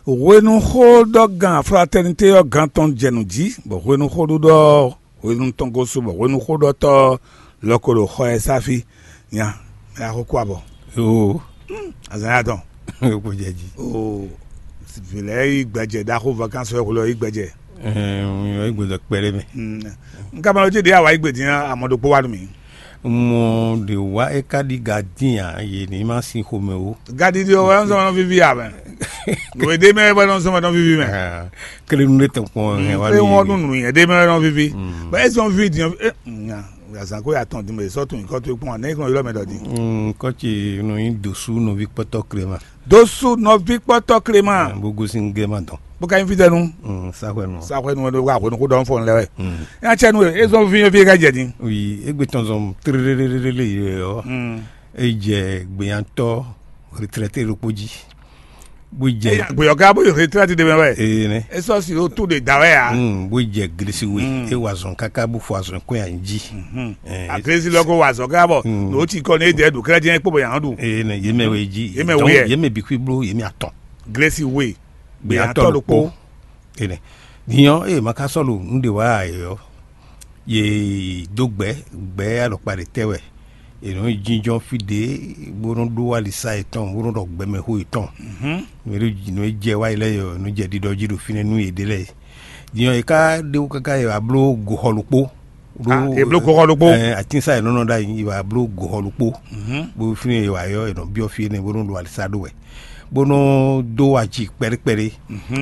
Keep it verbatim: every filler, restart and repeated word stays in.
Hwenu xó ɖɔ gan fraternité ɔ́ gan tɔn jɛ nǔ jí, bɔ hwenu xó ɖuɖɔ hwenu tɔn gosú, bɔ hwenu xó ɖɔtɔ́ lɔ ko ɖo xɔ ɛ sáfí. Nya, mɛ axó kú abɔ. Oo. Azan ya tɔn. Kò jɛ jí. Oo. Vǐ lɛ́ɛ yí gbɛjɛ ɖaxó vakansi wɛ hwelɔ yí gbɛjɛ. Ɛɛ, yí gbɛjɛ kpɛɖé mɛ. N ka ma lɔ jí ɖě awa yí gbedin amɔ ɖokpó wa nú mi. Mɔ ɖě wá é ká ɖi gadin ǎ, yě ní ma sin xomɛ ó. Gadi ɖi ɔ́ wɛ nɔ́ vivi amɛ. Nǔ e ɖe mɛ wɛ nɔ́ zɔn wɛ nɔ́ vivi mɛ. Klénu ɖé tɔn kpɔn hɛn wá. Ewɔn nú nǔ nyɛ ɖe mɛ wɛ nɔ́ vivi. Bɔ ezɔn vivi din nya azan ko ya tɔn din bɛ sɔ tun kɔ to kpɔn ne kɔn yɔrɔ mɛ dɔ din. Kɔci nɔ nyi dosu nɔvi kpɔtɔ klema. Dosu nɔvi kpɔtɔ klema. Bó gosin gɛma dɔn. Bó ka nyi fitɛnu. Saxwɛnu. Saxwɛnu wɛ ɖo wa hwenu ko dɔn fɔ lɛ wɛ. Ya cɛ nu e ezɔn vi vi ka jɛ din. Wi egbe tɔn zɔn trelelelele yɛ ɔ. E jɛ gbeyantɔ retraité ɖokpó jí, bó jɛ gbeyɔ ká bó yi retraité de mɛ wɛ. Ee nɛ. E sɔ si o tu de da wɛ ya. Bó jɛ glesi we. E wa zɔn kaka bó fɔ azɔn kɔn yan jí. Aglesi lɔ ko wa zɔn ká bɔ n'o ti kɔ ne dɛ do kɛlɛ diɲɛ kpó bɔ yan do. Ee nɛ yemɛ we jí. Yemɛ we yɛ. Yemɛ bi kwi blo yemɛ atɔn. Glesi we. Gbeyantɔ ɖokpó. Ene. Dinyɔ eye ma ka sɔ́ ɖo nǔ ɖe wa ɛ ɔ́, ye dó gbɛ̌ gbɛ̌ alɔkpa ɖě tɛ́ wɛ. È nɔ yi jínjɔ́n fí ɖě bó nɔ́ ɖó alisa yětɔn bó nɔ́ ɖɔ gbɛmɛxó yětɔn. Nǔ e jɛ wá yi lɛ́ɛ ɔ́, nǔ jɛ ɖiɖɔ jí ɖo fínɛ́ nú yěɖée lɛ́ɛ. Dinyɔ è ká ɖe wú káká è wǎ bló goxɔ ɖokpó. È bló goxɔ ɖokpó. Atínsá è nɔ́ nɔ ɖ'ayǐ è wǎ bló goxɔ ɖokpó. Bó fínɛ́ è wǎ yɔ è nɔ byɔ́ fí énɛ́ bó nɔ́ ɖo alisa ɖó wɛ, bó nɔ́ dó aji kpɛɖé kpɛɖé.